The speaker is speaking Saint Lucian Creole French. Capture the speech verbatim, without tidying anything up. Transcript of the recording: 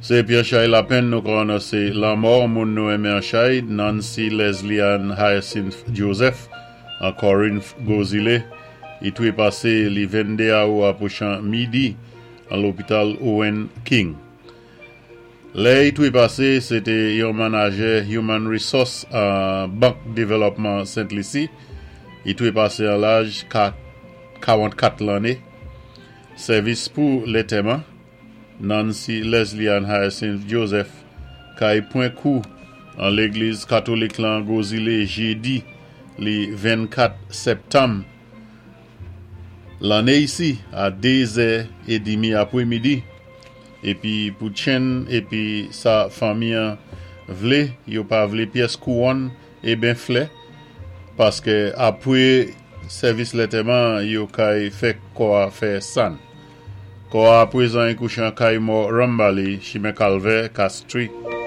Sé pi an chay lapenn nou ka anonsé lanmò moun nou enmen an chay, Nancy Leslie Ann Hyacinth Joseph, an Corinth Gwo Zilé. I twé pasé li venndé awou apwochan midi an lopital Owen King. Lè i twé pasé, sé té yon manadjè Human Resource an Bank Dévelopman Sent Lisi. I twé pasé an laj kawanntkat lanné. Sèvis pou lantèman, Nancy Leslie Ann Hyacinth Joseph kay pwan kou an légliz katolik lan Gwo Zilé jédi li vennkat septanm lanné isi a dé zè é dimi apwémidi. Épi pou tchenn épi sa fanmi an vlé, yo pa vlé pyès kouwòn é ben flè, paské apwé sèvis lantèman yo kay fè kò a fè sann. Kò a apwézan i kouché an kay mò Rambali, chimen Kalvè, Castries.